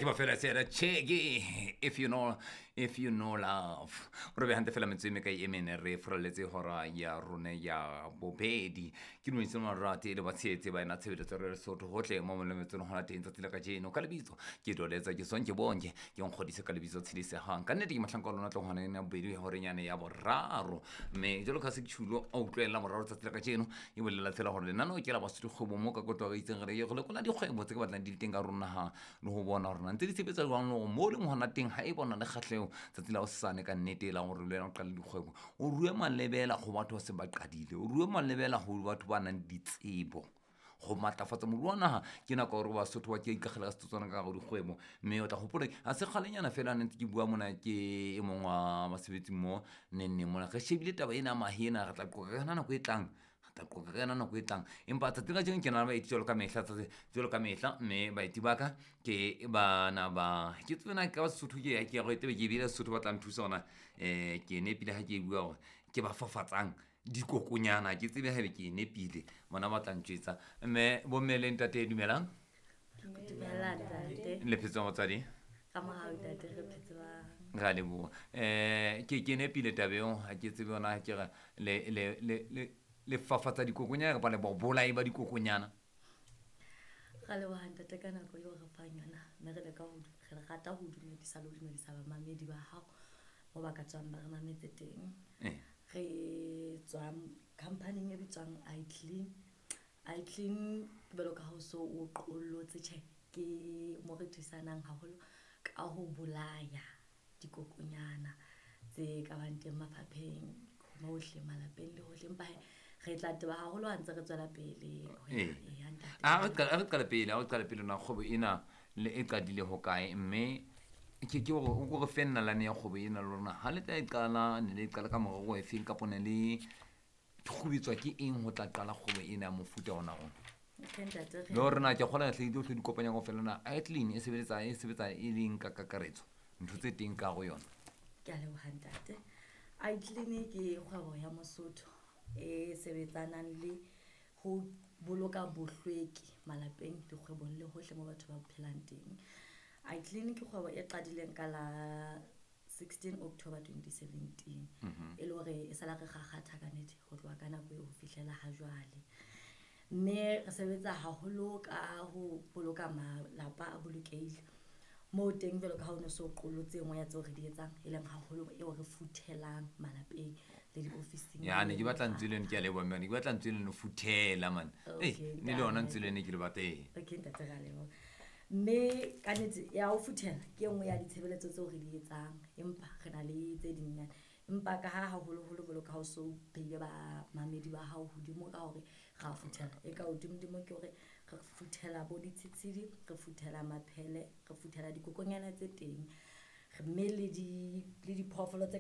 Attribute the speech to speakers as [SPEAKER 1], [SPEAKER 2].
[SPEAKER 1] Ke ba fela tsela cheke if you know, if you know love. Re be hantle fela metsotso e mekae e mene re furaletse hora ya rona ya bobedi. Ke dumedise marate le batshehetsi ba ena tshebeletso re Lesotho hohle mo molemetsong hona teng tsatsi la kajeno. Ka lebitso ke Doletsa ke Sonke Bonke, ke nkgodise ka lebitso Tshedisehang. Ka nnete ke mohlanka wa lona tlo hona ya bobedi horeng yane ya boraro. Mme jwalo ka se ke tjhulo a utlwela moraro tsatsi la kajeno e bolela fela hore lenaneo ke la Basotho dikgwebo mo ka kotlo re itseng re ye go lekola dikgwebo tse ke batlang di le teng ka rona ha le ho bona hore na ntse di sebetsa jwang le hore mo leng hona teng ha e bona le kgahleho tsatsi la hosane ka nnete e lang hore le wena o qale dikgwebo, o rue malebela go batho ba seng ba qadile, o rue malebela go batho ba nang le ditsebo go matlafatsa moruo wa naha. Ke nako ya gore Basotho ba ke ikagela ka setotswana ka gare dikgwebo. Mme o tla gopola ga se kgalenyana fela ne ntse ke bua mona ke e mongwe wa basebetsi mo nenneng mona, re shebile taba ena ya mahe ena, re tla qoqa ka yona nako e tlang, re tla qoqa ka yona nako e tlang. Empa tsatsi la kajeno ke na le baeti jwalo ka mehla, tsatsi jwalo ka mehla, mme baeti ba ka ke bana ba ke tsebe na ka Sesotho ke ke re tebe ke ebile Sesotho ba tla nthusa hona ke nepile ha ke bua hore ke ba fafatsang dikokonyana, ke tsebe haebe ke nepile, bona ba tla ntjwetsa. Mme bomme le ntate, dumelang.
[SPEAKER 2] Dumela ntate.
[SPEAKER 1] Le phetse motswadi?
[SPEAKER 2] Ka mohau ntate, re phetse ba.
[SPEAKER 1] Ra leboha. Ke nepile tabeng, ha ke tsebe yona, ke re le le le le le fafatsa dikokonyana kapa le bobolai ba dikokonyana?
[SPEAKER 2] Ra leboha ntate ka nako eo re fang yona, mme re leka ho re rata ho dumedisa le ho dumedisa bamamedi ba hao mo ba ka tswang ba re mametse teng. Re tswa company e bitswang iClean. iClean jwalo ka ha o so o qollotse, tjhe, ke mo re thusanang haholo ka ho bolaya dikokonyana tse ka bang teng mafapheng hohle, malapeng le hohle. Empa he, re tla teba haholo ha ntse re tswela pele ho ya, ee, ntate.
[SPEAKER 1] A re qale pele, a re qale pele na kgwebo ena le e qadile hokae, mme ke hore o ko re fe nalane ya kgwebo ena le rona. Ha le tla e qala, ne le e qala ka morero o efeng, kapa ne le kgubetswa ke eng ho tla qala kgwebo ena ya mofuta ona ona?
[SPEAKER 2] Okay, ntate,
[SPEAKER 1] Le hore na ke kgola hle di di kopanya kaofela na iClean e sebetsa, e sebetsa e leng ka kakaretso ntho tse teng ka go yona?
[SPEAKER 2] Ke a leboha ntate. iClean ke kgwebo ya Mosotho e sebetsanang le ho boloka bohlweki malapeng, dikgwebong le hohle mo batho ba phelang teng. iClean ke kgwebo e qadileng ka la 16 October 2017. E le hore e sala re kgakgatha ka nnete ho tloha ka nako eo ho fihlela ha jwale. Mme re sebetsa haholo ka ho boloka malapa a bolokehile. Moo teng jwalo ka ha o no so qollotse e nngwe ya tseo re di etsang, e leng haholo eo re futhelang malapeng le diofising.
[SPEAKER 1] Ya, ne ke batla ntswe leno, ke a leboha mme, ne ke batla ntswe leno futhela man.
[SPEAKER 2] Okay,
[SPEAKER 1] Ne le yona
[SPEAKER 2] ntate.
[SPEAKER 1] ntswe leno ke le batla, ee.
[SPEAKER 2] Okay, ntate, ra leboha. Mme ka nnete ya ho futhela ke e nngwe ya ditshebeletso tseo re di etsang, empa re na le tse dingnyana. Empa ka ha haholoholo jwalo ka ha o so beile bamamedi ba hao hodimo ka hore ra futhela, e ka hodimodimo ke hore re futhela bo ditshitshidi, re futhela maphele, re futhela dikokonyana tse teng, mme le diphoofolo tse ka